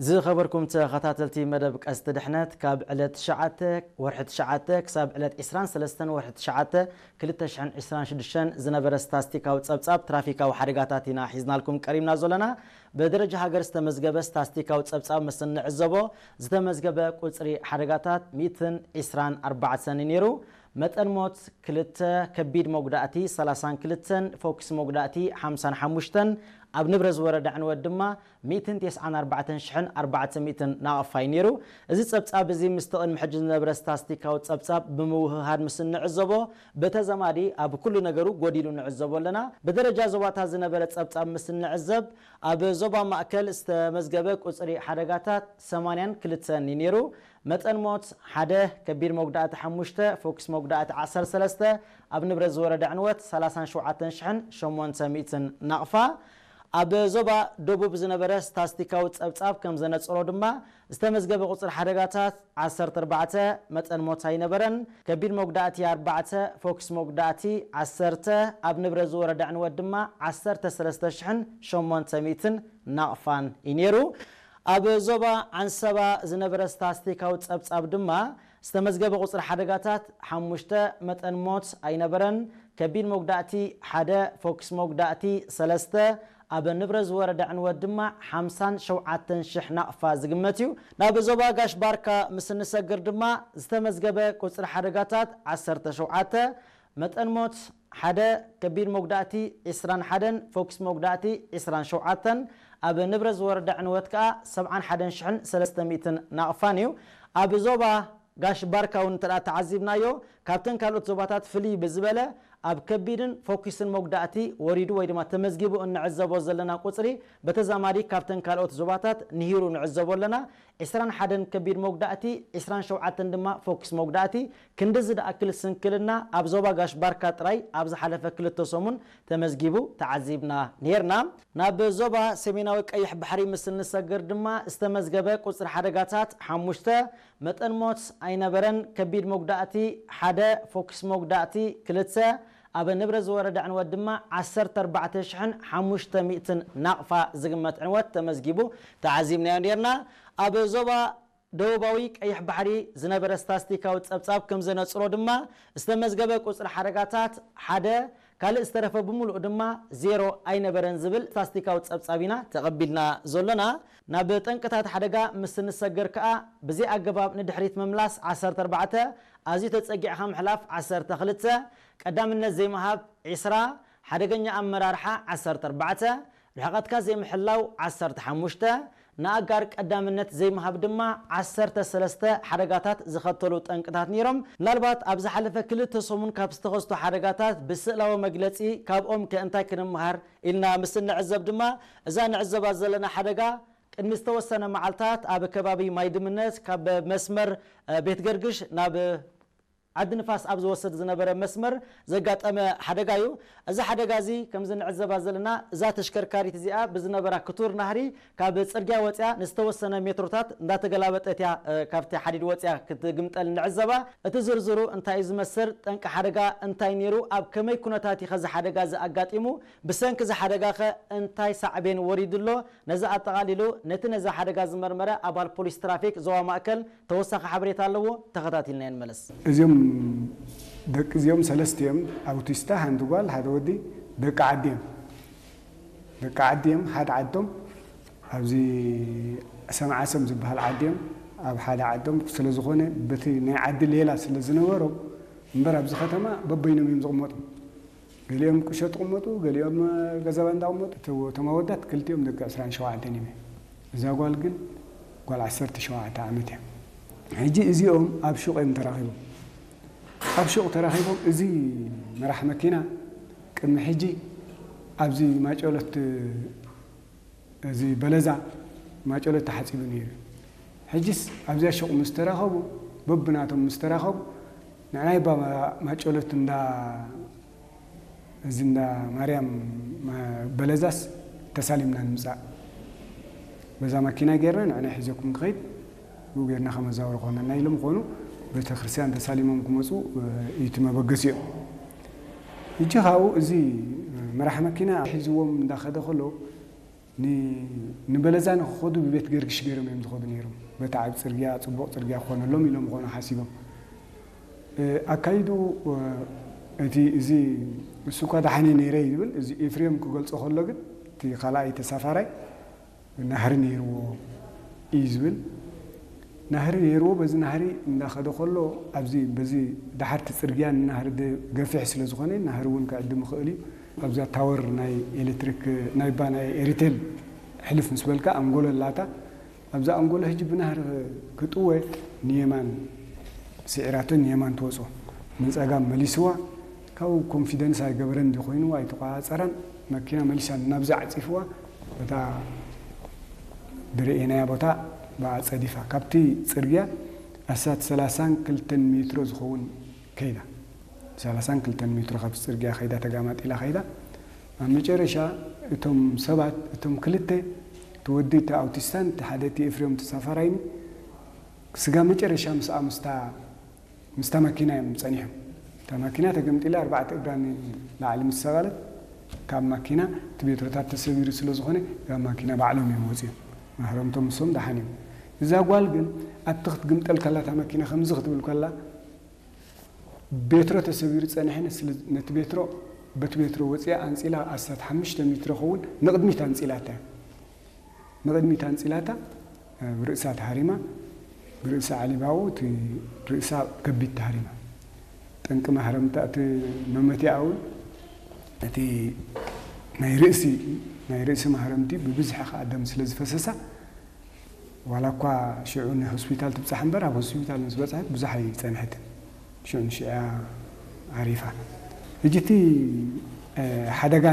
ዝኸበርኩም ተኸታተልቲ መደብ ቀስቲ ድሕነት፣ ካብ ዕለት ትሽዓተ ወርሒ ትሽዓተ ክሳብ ዕለት ዕስራን ሰለስተን ወርሒ ትሽዓተ ክልተ ሽሕን ዕስራን ሽዱሽተን ዝነበረ ስታስቲካዊ ጸብጻብ ትራፊካዊ ሓደጋታት ኢና ሒዝናልኩም ቀሪብና ዘለና። ብደረጃ ሃገር ዝተመዝገበ ስታስቲካዊ ጸብጻብ ምስ እንዕዘቦ፣ ዝተመዝገበ ቁጽሪ ሓደጋታት ሚእትን ዕስራን ኣርባዕተን እዩ ነይሩ። መጠን ሞት ክልተ፣ ከቢድ መጉዳእቲ ሰላሳን ክልተን፣ ፎክስ መጉዳእቲ ሓምሳን ሓሙሽተን፣ ኣብ ንብረት ዝወረደ ዕንወት ድማ ሚእትን ተስዓን ኣርባዕተን ሽሕን ኣርባዕተ ሚእትን ናቕፋ እዩ ነይሩ። እዚ ጸብጻብ እዚ ምስቲ ቅድሚ ሕጂ ዝነበረ ስታስቲካዊ ጸብጻብ ብምውህሃድ ምስ እንዕዘቦ፣ ብተዛማዲ ኣብ ኩሉ ነገሩ ጎዲሉ ንዕዘቦ ኣለና። ብደረጃ ዞባታት ዝነበረ ጸብጻብ ምስ እንዕዘብ፣ ኣብ ዞባ ማእከል ዝተመዝገበ ቁጽሪ ሓደጋታት ሰማንያን ክልተን እዩ ነይሩ። መጠን ሞት ሓደ፣ ከቢድ መጉዳእቲ ሓሙሽተ፣ ፎክስ መጉዳእቲ ዓሰርተ ሰለስተ፣ ኣብ ንብረት ዝወረደ ዕንወት ሰላሳን ሸውዓተን ሽሕን ሸሞንተ ሚእትን ናቕፋ። ኣብ ዞባ ደቡብ ዝነበረ ስታስቲካዊ ጸብጻብ ከም ዘነጽሮ ድማ፣ ዝተመዝገበ ቁጽሪ ሓደጋታት ዓሰርተ ኣርባዕተ፣ መጠን ሞት ኣይነበረን። ከቢድ መጉዳእቲ ኣርባዕተ፣ ፎክስ መጉዳእቲ ዓሰርተ፣ ኣብ ንብረት ዝወረደ ዕንወት ድማ ዓሰርተ ሰለስተ ሽሕን ሸሞንተ ሚእትን ናቕፋን እዩ ነይሩ። ኣብ ዞባ ዓንሰባ ዝነበረ ስታስቲካዊ ጸብጻብ ድማ፣ ዝተመዝገበ ቁጽሪ ሓደጋታት ሓሙሽተ፣ መጠን ሞት ኣይነበረን። ከቢድ መጉዳእቲ ሓደ፣ ፎክስ መጉዳእቲ ሰለስተ፣ ኣብ ንብረት ዝወረደ ዕንወት ድማ ሓምሳን ሸውዓተን ሽሕ ናቕፋ ዝግመት እዩ። ናብ ዞባ ጋሽ ባርካ ምስ እንሰግር ድማ፣ ዝተመዝገበ ቁጽሪ ሓደጋታት ዓሰርተ ሸውዓተ፣ መጠን ሞት ሓደ፣ ከቢድ መጉዳእቲ ዕስራን ሓደን፣ ፎክስ መጉዳእቲ ዕስራን ሸውዓተን፣ ኣብ ንብረት ዝወረደ ዕንወት ከኣ ሰብዓን ሓደን ሽሕን ሰለስተ ሚእትን ናቕፋን እዩ። ኣብ ዞባ ጋሽ ባርካ እውን እንተ ደኣ ተዓዚብናዮ፣ ካብተን ካልኦት ዞባታት ፍልይ ብዝበለ ኣብ ከቢድን ፎኪስን መጉዳእቲ ወሪዱ ወይ ድማ ተመዝጊቡ እንዕዘቦ ዘለና ቁጽሪ፣ በተዛማዲ ካብተን ካልኦት ዞባታት ንሂሩ ንዕዘቦ ኣለና። ዕስራን ሓደን ከቢድ መጉዳእቲ፣ ዕስራን ሸውዓተን ድማ ፎኪስ መጉዳእቲ። ክንድዚ ዝኣክል ስንክልና ኣብ ዞባ ጋሽ ባርካ ጥራይ ኣብ ዝሓለፈ ክልተ ሰሙን ተመዝጊቡ ተዓዚብና ነይርና። ናብ ዞባ ሰሜናዊ ቀይሕ ባሕሪ ምስ እንሰግር ድማ ዝተመዝገበ ቁጽሪ ሓደጋታት ሓሙሽተ፣ መጠን ሞት ኣይነበረን። ከቢድ መጉዳእቲ ሓደ፣ ፎክስ መጉዳእቲ ክልተ፣ ኣብ ንብረት ዝወረደ ዕንወት ድማ ዓሰርተ ኣርባዕተ ሽሕን ሓሙሽተ ሚእትን ናቕፋ ዝግመት ዕንወት ተመዝጊቡ ተዓዚብናዮ ነርና። ኣብ ዞባ ደቡባዊ ቀይሕ ባሕሪ ዝነበረ ስታስቲካዊ ጸብጻብ ከም ዘነጽሮ ድማ፣ ዝተመዝገበ ቁጽሪ ሓደጋታት ሓደ፣ ካልእ ዝተረፈ ብምሉእ ድማ ዜሮ ኣይነበረን ዝብል ስታስቲካዊ ጸብጻብ ኢና ተቐቢልና ዘሎና። ናብ ጠንቅታት ሓደጋ ምስ እንሰገር ከኣ፣ ብዘይ ኣገባብ ንድሕሪት ምምላስ ዓሰርተ ኣርባዕተ፣ ኣዝዩ ተጸጊዕኻ ምሕላፍ ዓሰርተ ክልተ፣ ቀዳምነት ዘይምሃብ ዕስራ፣ ሓደገኛ ኣመራርሓ ዓሰርተ ኣርባዕተ፣ ርሕቐትካ ዘይምሕላው ዓሰርተ ሓሙሽተ፣ ንኣጋር ቀዳምነት ዘይምሃብ ድማ ዓሰርተ ሰለስተ ሓደጋታት ዝኸተሉ ጠንቅታት ነይሮም። ምናልባት ኣብ ዝሓለፈ ክልተ ሰሙን ካብ ዝተኸስቱ ሓደጋታት ብስእላዊ መግለጺ፣ ካብኦም ከ እንታይ ክንምሃር ኢልና ምስ እንዕዘብ ድማ፣ እዛ ንዕዘባ ዘለና ሓደጋ ቅድሚ ዝተወሰነ መዓልታት ኣብ ከባቢ ማይ ድምነት ካብ መስመር፣ እ፣ ቤት ገርግሽ ናብ ዓዲ ንፋስ ኣብ ዝወስድ ዝነበረ መስመር ዘጋጠመ ሓደጋ እዩ። እዚ ሓደጋ እዚ ከምዚ ንዕዘባ ዘለና፣ እዛ ተሽከርካሪት እዚኣ ብዝነበራ ክቱር ናህሪ ካብ ጽርግያ ወጽያ ንዝተወሰነ ሜትሮታት እንዳተገላበጠት እያ፣ እ፣ ካብቲ ሓዲድ ወጽያ ክትግምጠል ንዕዘባ። እቲ ዝርዝሩ እንታይ እዩ ዝመስል? ጠንቂ ሓደጋ እንታይ ነይሩ? ኣብ ከመይ ኩነታት እዩ ኸዚ ሓደጋ እዚ ኣጋጢሙ? ብሰንኪ እዚ ሓደጋ ኸ እንታይ ሳዕቤን ወሪዱ ኣሎ? ነዚ ኣጠቓሊሉ ነቲ ነዚ ሓደጋ ዝመርመረ ኣባል ፖሊስ ትራፊክ ዞባ ማእከል ተወሳኺ ሓበሬታ ኣለዎ። ተኸታቲልና ንመለስ። እዚኦም ደቂ እዚኦም ሰለስተ እዮም። ኣውቲስታ፣ ሓንቲ ጓል፣ ሓደ ወዲ፣ ደቂ ዓዲ እዮም። ደቂ ዓዲ እዮም፣ ሓደ ዓዶም ኣብዚ ሰምዓሰም ዝበሃል ዓዲ እዮም። ኣብ ሓደ ዓዶም ስለ ዝኾነ፣ በቲ ናይ ዓዲ ሌላ ስለ ዝነበሮም እምበር፣ ኣብዚ ከተማ በበይኖም እዮም ዝቕመጡ። ገሊኦም ቁሸት ይቕመጡ፣ ገሊኦም ገዛ ባንዳ ይቕመጡ። እቶ-፣ እቶም ኣወዳት ክልቲኦም ደቂ ዕስራን ሸውዓተን እዮም። እዛ ጓል ግን ጓል ዓሰርተ ሸውዓተ ዓመት እያ። ሕጂ እዚኦም ኣብ ሹቕ እዮም ተራኺቦም። ኣብ ሹቕ ተራኺቦም፣ እዚ መራሕ መኪና ቅድሚ ሕጂ ኣብዚ ማጨሎት፣ እዚ በለዛ ማጨሎት ተሓጺቡ ነይሩ። ሕጂስ ኣብዚኣ ሹቕ ምስ ተራኸቡ፣ በብናቶም ምስ ተራኸቡ፣ ንዕናይ ባ ማጨሎት እንዳ፣ እዚ እንዳ ማርያም ማ-፣ በለዛስ ተሳሊምና ንምጻእ። በዛ ማኪና ጌርና ንዕናይ ሒዘኩም ክኸይድ፣ ብኡ ጌርና ከመዛውሮ ኮነና ኢሎም ኮኑ፣ ቤተክርስትያን ተሳሊሞም ክመጹ፣ እ፣ እዩ እቲ መበገሲኦም። ሕጂ ካብኡ እዚ መራሕ መኪና ሒዝዎም እንዳኸደ ከሎ፣ ንበለዛ ንክኸዱ ብቤት ገርግሽ ገይሮም እዮም ዝኸዱ ነይሮም። በታ ዓብ ፅርግያ፣ ፅቡቕ ፅርግያ ክኾነሎም ኢሎም ዝኾኑ ሓሲቦም። ኣካይዱ እቲ እዚ እሱ እኳ ደሓነ ነይረ እዩ ዝብል፣ እዚ ኤፍሬም ክገልጾ ከሎ ግን እቲ ካልኣይ ተሳፋራይ ናህሪ ነይርዎ እዩ ዝብል። ናህሪ ነይርዎ፣ በዚ ናህሪ እንዳኸደ ከሎ ኣብዚ በዚ ደሓርቲ ጽርግያ ናህሪ ገፊሕ ስለ ዝኾነ ናህሪ እውን ክዕድም ይኽእል እዩ። ኣብዛ ታወር ናይ ኤሌክትሪክ ናይባ ናይ ኤሪቴል ሕልፍ ምስ በልካ ኣንጎሎ ኣላታ ኣብዛ ኣንጎሎ ሕጂ ብናህሪ ክጥወ ንየማን ስዒራቶ ንየማን ትወፅኦ ንፀጋም መሊስዋ። ካብኡ ኮንፊደንስ ኣይገበረን እንዲ ኮይንዋ ኣይተቋፃፀራን። መኪና መሊሳ ናብዚ ዓፂፍዋ። በታ ዝረኤናያ ቦታ ብኣ ፀዲፋ ካብቲ ፅርግያ ኣሳት ሰላሳን ክልተን ሜትሮ ዝኸውን ከይዳ። ሰላሳን ክልተን ሜትሮ ካብቲ ፅርግያ ከይዳ ተጋማጢላ ከይዳ። ኣብ መጨረሻ እቶም ሰባት እቶም ክልተ እቲ ወዲ እቲ ኣውቲስታን እቲ ሓደ እቲ ኤፍሬም ተሳፋራይኒ ስጋ መጨረሻ ምስኣ ምስታ ምስታ ማኪና እዮም ጸኒሖም። እታ ማኪና ተገምጢላ ኣርባዕተ እግራ ንላዕሊ ምስ ሰቐለት ካብ ማኪና እቲ ቤትሮታት ተሰቢሩ ስለ ዝኾነ ካብ ማኪና ባዕሎም እዮም ወፂኦም። ማህረምቶም ንሶም ደሓን እዮም። እዛ ጓል ግን ኣብቲ ክትግምጠል ከላ እታ ማኪና ከምዚ ክትብል ከላ ቤትሮ ተሰቢሩ ጸኒሐ ነቲ ቤትሮ በቲ ቤትሮ ወፂኣ ኣንፂላ ኣስታት ሓሙሽተ ሜትሮ ኸውን ንቕድሚት ኣንፂላታ እያ። ንቕድሚት ኣንፂላታ ብርእሳ ተሃሪማ ብርእሳ ዓሊባኡ እቲ ርእሳ ከቢድ ተሃሪማ ጠንቂ ማህረምታ እቲ መመቲያ እውን እቲ ናይ ርእሲ ናይ ርእሲ ማህረምቲ ብብዝሒ ከዓ ደም ስለ ዝፈሰሳ ዋላ እኳ ሽዑ ንሆስፒታል ትብፃሕ እምበር ኣብ ሆስፒታል ምስ በፅሐት ብዙሕ ኣይፀንሐትን ሽዑ ንሽዕያ ዓሪፋ ሕጂ እቲ ሓደጋ